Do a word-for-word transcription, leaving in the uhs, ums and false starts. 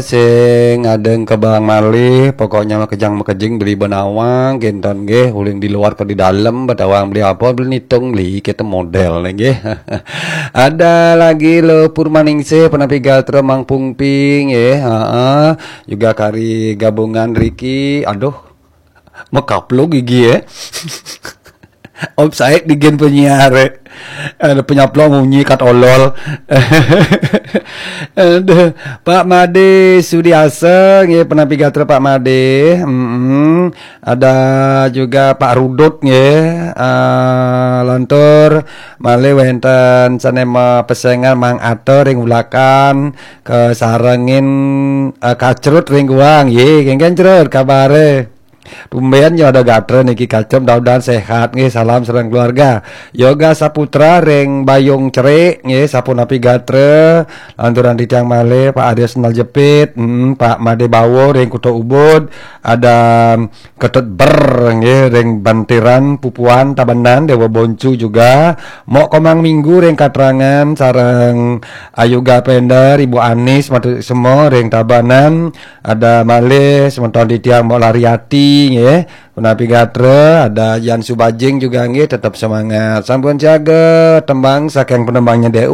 sing adeng kebang malih, pokoknya makejang makejing beli benawang, kinten nggih, uling di luar ke di dalam, betawang beli apa, beli nitung, beli kita model nggih. Ada lagi lo Purmaningsih, penapi gatra Mang Pungping, nggih, heeh. Juga kari gabungan Riki, aduh, mekaplok gigi ya. Om Said bikin penyiar, eh. Ada penyaplok munyi kat olol. Aduh, Pak Made Sudiasa, nggih, penapi gatra Pak Made. Mm-mm. Ada juga Pak Rudut, nggih. Ah, lantur malih wenten sanema pesengan Mang Ato ring Ulakan, kesarengin, eh, Kacrut ring Guang. Nggih, kengken Crut kabare. Tumben ya ada gatra niki Kacem, mudah-mudahan sehat nggih, salam sareng keluarga. Yoga Saputra ring Bayung Cerik nggih, sapunapi gatra, lanturan titiang malih Pak Arya Sendal Jepit, mm, Pak Made Bawo ring Kuta Ubud, ada Ketut Ber nggih ring Bantiran Pupuan Tabanan Dewa Boncu juga, Mok Komang Minggu ring Katrangan sareng Ayuga Pender, Ibu Anis, Matu Semo ring Tabanan, ada malih semeton titiang Mok Lariati nggih. Punapi gatra, ada Jan Subajing juga nggih, tetap semangat. Sampun siaga tembang saking penembangnya D U.